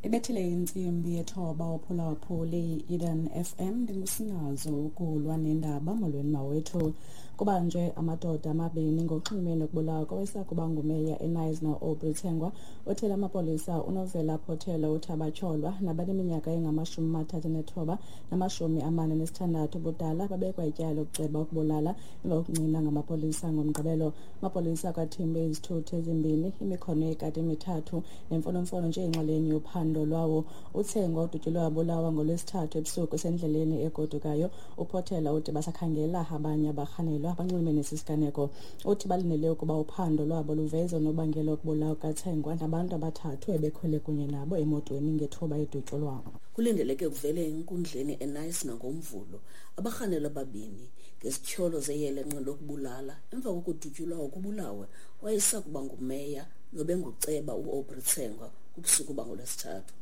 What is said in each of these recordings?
Ibethile intsimbi yethoba uphulaphuli i-Eden FM, ndingusinazo ukulwa nendaba. Molweni mawethu. Kubanjwe amadoda amabini ngoxhumene nokubulawa kowayesakuba ngumeya eKnysna, Aubrey Tsengwa. Uthele amapolisa uNovela Potelwa uthi abatyholwa nabaneminyaka engama-39 nama-46 ubudala babekwa ityala lokuceba ukubulala emva kokuncina ngamapolisa ngoMgqibelo. Amapolisa akwathimbe izithuthi ezimbini, imikhono yekati emithathu nemfonomfono njengexalenye yophando lwawo. UTsengwa udutyulwe wabulawa ngoLwesithathu ebusuku esendleleni egodukayo. UPotelwa uthi basakhangela abanye abarhanelwa abanxulumene nesi siganeko. Uthi balindele ukuba uphando lwabo luveze unobangela wokubulawa kukaTsengwa nabantu abathathu ebekhwele kunye nabo emotweni ngethuba edutyulwa. Kulindeleke kuvele enkundleni eKnysna ngoMvulo abarhanelwa ababini ngezityholo zeyelenqe lokubulala emva kokudutyulwa ukubulawe wayesakuba ngumeya nobenguceba uAubrey Tsengwa kubusuku bangoLwesithathu.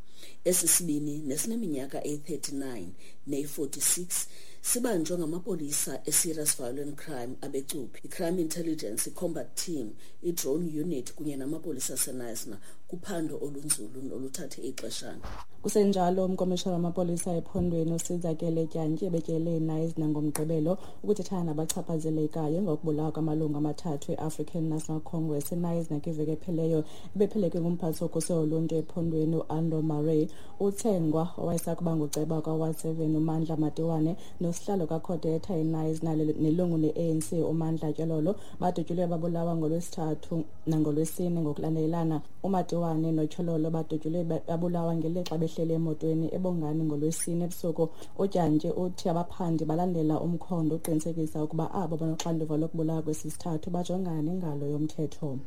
Esi sibini nesineminyaka eyi-39 neyi-46 sibanjwe ngamapolisa e-Serious Violent Crime abecuphi, i-Crime Intelligence, i-Combat Team, i-Drone Unit kunye namapolisa aseKnysna kuphando olunzulu noluthathe ixeshana. Kusenjalo, umkomishana wamapolisa ephondweni uSizakele Dyantyi ebetyelele iKnysna ngoMgqibelo ukuthethana nabachaphazelekayo ngokubulawa kwamalungu amathathu e-African National Congress eKnysna kwiveki ephelileyo. Ebephelekwe ngumphathi wokhuselo loluntu ephondweni uAndro Murray. UTsengwa, owayesakuba nguceba kwaWard 7 uMandla Matiwane nosihlalo kaCodeta eKnysna nelungu le-ANC uMandla Tyololo badutyulwe babulawa ngoLwesithathu nangolwesine ngokulandelelana. UMatiwane noTyololo badutyulwe babulawa ngelixa behleli emotweni eBongani ngoLwesine ebusuku. UDyantyi uthi abaphandi balandela umkhondo uqinisekisa ukuba abo banoxanduva lokubulawa kwesi sithathu bajongana nengalo yomthetho.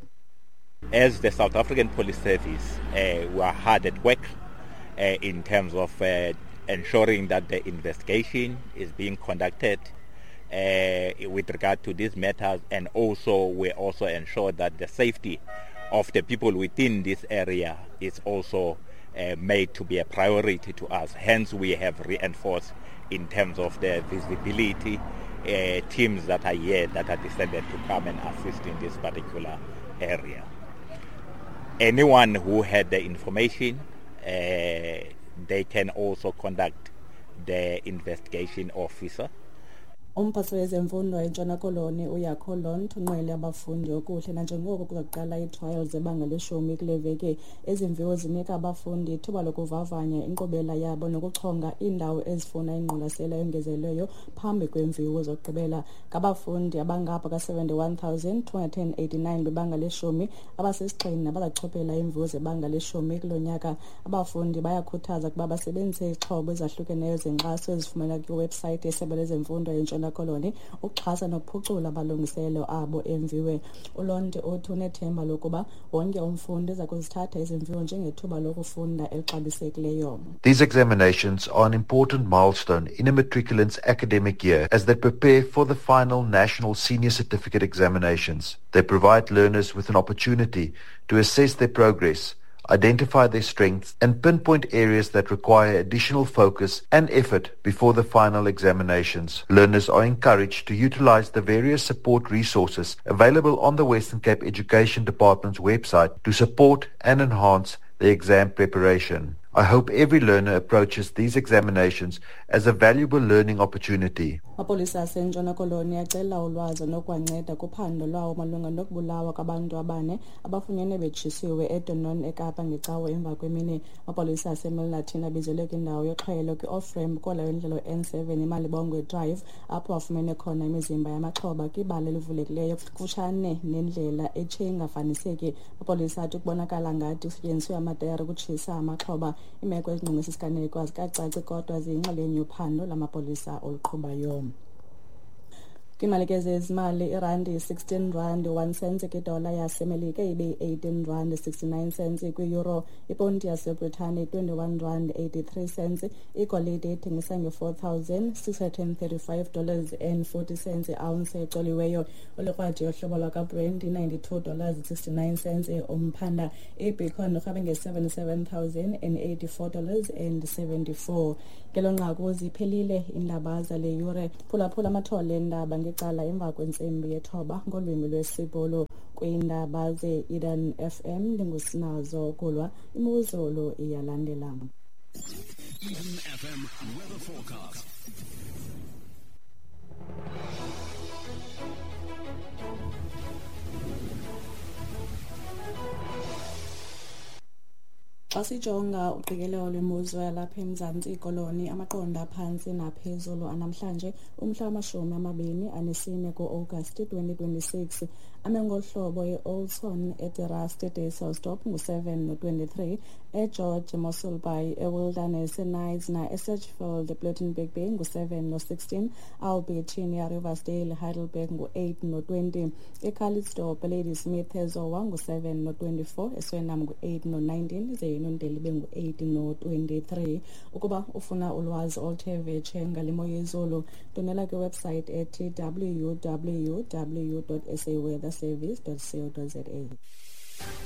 As the South African Police Service, we are hard at work in terms of ensuring that the investigation is being conducted with regard to these matters, and also we also ensure that the safety of the people within this area is also made to be a priority to us. Hence, we have reinforced in terms of the visibility teams that are here that are descended to come and assist in this particular area. Anyone who had the information, they can also contact the investigation officer. Umphathi wezemfundo eNtshona Koloni uJaco Londt unqwele abafundi okuhle nanjengoko kuzoqala ii-trials zebanga leshumi kule veki. Ezi mviwo zinika abafundi ithuba lokuvavanya inkqubela yabo nokuchonga iindawo ezifuna ingqwalasela eyongezelelweyo phambi kweemviwo zokugqibela. Ngabafundi abangapha ka-71,289 bebanga leshumi abasisigxina abazachophela iimviwo zebanga leshumi kulo nyaka. Abafundi bayakhuthaza ukuba basebenzise izixhobo ezahlukeneyo zenkxaso ezifumaneka kwiwebhusayithi yeSebe lezeMfundo eNtshona Koloni ukuxhasa nokuphucula amalungiselelo abo emviwe. ULondt uthi unethemba lokuba wonke umfundi uza kuzithatha ezi mviwo njengethuba lokufunda elixabisekileyo. These examinations are an important milestone in a matriculant's academic year as they prepare for the final National Senior Certificate examinations. They provide learners with an opportunity to assess their progress, identify their strengths, and pinpoint areas that require additional focus and effort before the final examinations. Learners are encouraged to utilize the various support resources available on the Western Cape Education Department's website to support and enhance their exam preparation. I hope every learner approaches these examinations as a valuable learning opportunity. Amapolisa aseNtshona Koloni acela ulwazi nokwanceda kuphando lwawo malunga nokubulawa kwabantu abane abafunyenwe betshisiwe eDunoon eKapa ngeCawe emva kwemini. Amapolisa aseMilnerton abizelwe kwindawo yoxhwayelo kwi-off-ramp kola wendlela N7 eMalibongwe Drive apho afumene khona imizimba yamaxhoba kwibala elivulekileyo kufutshane nendlela etshe ingafaniseki. Amapolisa athi kubonakala ngathi kusetyenziswe amatayara ukutshisa amaxhoba. Iimeko ezingqonge esi siganeko azikacaci kodwa ziyinxalenye yophando lamapolisa oluqhubayo. Kwiimali zezimali, irandi yi-16 rand 1 cents kwidola yaseMelika, ibe yi-18 rand 69 cents kwi-euro, iponti yaseBritane 21 rand 83 cents. Igolide ithengisa nge-$4,635 and 40 cents i-ounce ecoliweyo. Olukrwaji yohlobo lwakaBrent i-$92.69 umphanda. Ibitcoin irhwebe nge-$77,084 and 74. Ngelo nqaku ziphelile iindaba zale yure. Phulaphula amathole eendaba. icala emva kwentsimbi yethoba ngolwimi lwesiBhulu. Kwiindaba ze-Eden FM ndingusinazo Kulwa. Imozulu iyalandela. Eden FM weather forecast. Xa sijonga uqikelelo lwemozulu yalapha eMzantsi Koloni, amaqondo aphantsi naphezulu anamhlanje umhla wama-24 ku-Agasti 2026 ame ngolu hlobo: e-Oudtshoorn, eDe-Rust, eDysselsdorp ngu-7 no-23, eGeorge, Mossel Bay, eWilderness, eKnysna, eSedgefield, ePlettenberg Bay ngu-7 no-16, Albertinia, Riversdale, Heidelberg ngu-8 no-20, eCalitzdorp, Ladysmith, eZowa ngu-7 no-24, eSwellnum ngu-8 no-19, ze iNondeli ibe ngu-8 no-23. Ukuba ufuna ulwazi oluthe vetshe ngale mo yezulu, ndwendwela kwiwebsite ethi www.saweatherservice.co.za.